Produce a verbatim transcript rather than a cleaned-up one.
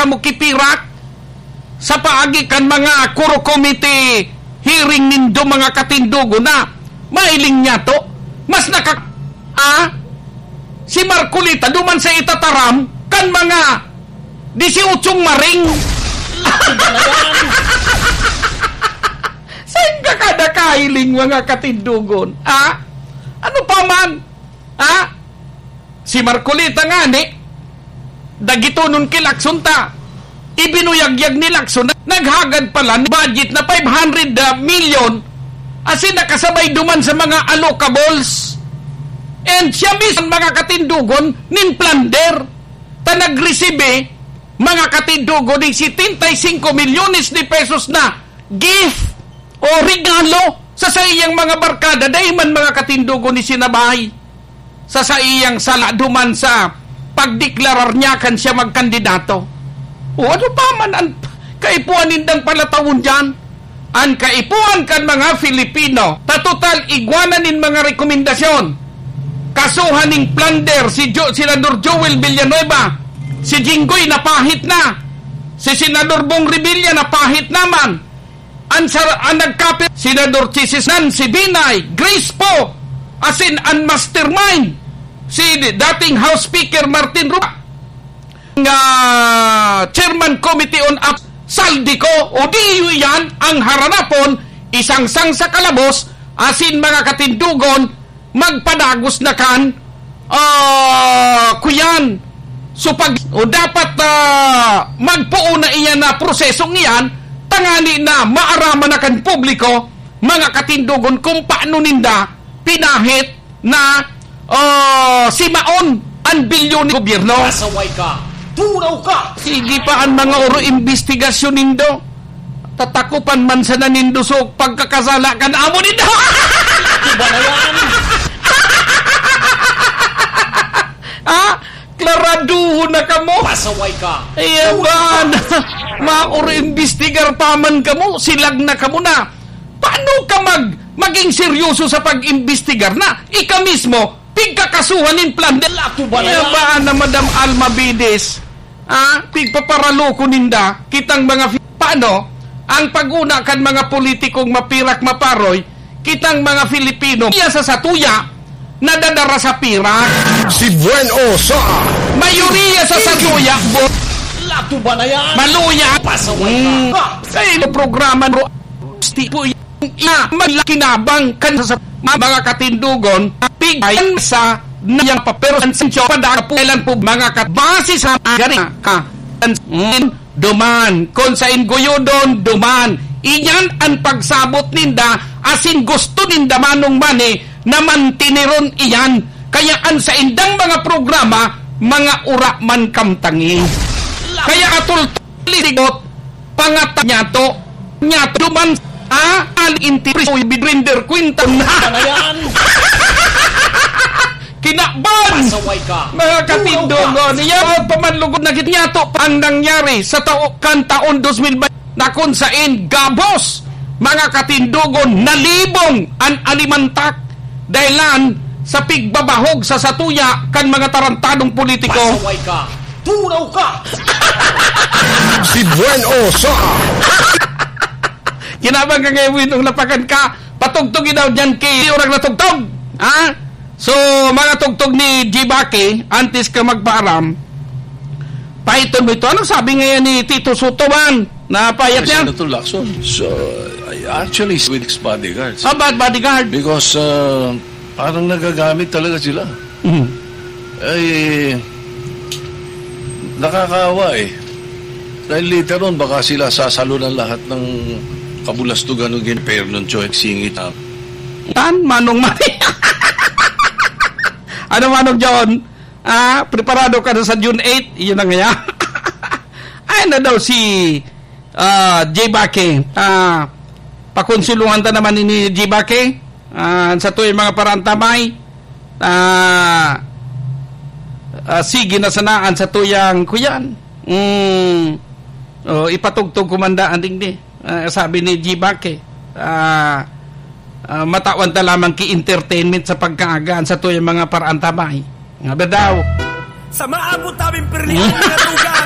mo kipirak sa paagi kan mga Koro Committee hearing nindo, mga katindogon, na mahiling niya to. Mas naka-, ah, si Marcoleta duman sa itataram kan mga disyotsyong maring. Saan ka kada kahiling, mga katindogon? Ah? Ano pa man? Ah? Si Marcoleta ngani, dagitonon ki Lacson ta. Ibinuyagyag ni Lacson na naghagad pala ni budget na five hundred million, asin nakasabay duman sa mga allocables. And siya mismo, mga katindogon, nin plunder. Ta nagresibe, mga katindogon, nin setenta y cinco milyones de pesos na gift o regalo sa saiyang mga barkada, dai man, mga katindogon, isinabay sa saiyang sala duman sa pagdeklarar niya kan siya magkandidato. O ano pa man an kaipuhan nindang palatawon diyan? An kaipuhan kan mga Filipino, ta total igwa na nin mga rekomendasyon. Kasuhan ning plunder si Jo-, Senador Joel Villanueva, si Jinggoy napahit na, si Senador Bong Revilla napahit naman. An sar-, an nagkapir, Senador Chisis Nancy Binay, Grace Poe, asin an mastermind, si dating House Speaker Martin Romualdez, nga Chairman Committee on App, Zaldy Co, o di iyan ang haranapon, isangsang sa kalabos, asin mga katindogon, magpadagos na kan, ah, kuyan. So, pag, o dapat, ah, magpoon na iyan na prosesong iyan, tangani na maaraman na kan publiko, mga katindogon, kung paano ninda pinahit na, ah, simaon an bilyon ni gobyerno. Pasaway ka! Turaw ka! Sige pa an mga oro imbestigasyon nindo. Tatakopan man sana nindo sa pagkakasala kan amo nindo. Iba na yan. Ah, klaraduhon na kamo. Pasaway ka. Ayan ba? Mauro imbestigar pa man kamo, silag na kamo na. Paano ka mag-, maging seryoso sa pag-imbestigar na ika mismo pigkakasuhan nin plunder? Lato ba na Ayan yan? ba na, Madam Alma Bides? Ah, pigpaparaloko ninda, kitang mga fi-, paano ang pag-una kan mga politikong mapirak maparoy, kitang mga Filipino, iya sa satuya, nadadara sa pirak. Si Buen O sa Mayoriya sa satuya, bo-, Lato ba na yan? Maluya. Pasaway ka. Hmm. Sa ino programa, bro? Gusti po yung ina, maglakinabang kan sa mga katindogon, pigayan sa niyang papel, ang sensyo, padala po, kailan po, mga kat-, base sa gari, ah, ang, mm, duman, kung sa inggoyodon, duman. Iyan ang pagsabot ninda, asin gusto ninda manong mani na mantiniron iyan. Kaya ang sa indang mga programa, mga ura man kamtangi. Kaya atol Lisigot, pangata niyato, niyato duman, ah, al inti-, bidrinder kwenta na. Ano yan? Kinaban! Pasaway ka. Mga katindogon, Tulaw ka. Niya, pamanlugod na gid niyato pa ang nangyari sa tao, kan taon dos mil baynte na kung sain gabos, mga katindogon, nalibong an alimantak dahilan sa pigbabahog sa satuya kan mga tarantadong politiko. Pasaway ka! Turaw ka! Si Buen O sa Kinabang ka ngayon, Winong, lapakan ka. Patugtog daw dyan kay orang natugtog. Ha? So, mga tugtog ni Jibaki, antes ka magpaaram, pahiton mo ito. Anong sabi ngayon ni Tito Soto man? Napayat Yes, niya? Senator Lacson. So, I actually with bodyguards. Ah, bad bodyguard. Because, uh, parang nagagamit talaga sila. Mhm. Ay, nakakaawa eh. Dahil later on, baka sila sasalunan lahat ng kabulastugan ng gin-, pero nung Choi singit. Tan, Manong Mari. Ano, Manong John? Ah, preparado ka na sa June eight? Iyon na nga yan. Ay na daw si, ah, J Bake. Ah, pakonsulungan ta naman ni J Bake. Ah, sa tuyang mga paraantabay. Ah, ah, sige na sanaan sa tuyang kuyan. Mm. Oh, ipatugtog ko man daan digdi. Ah, sabi ni G-Back eh, ah, ah, matawan ta lamang ki entertainment sa pagkaagaan sa tuyang mga paraantabay. Nga ba daw? Sa maabot naming pirlihan na tugang,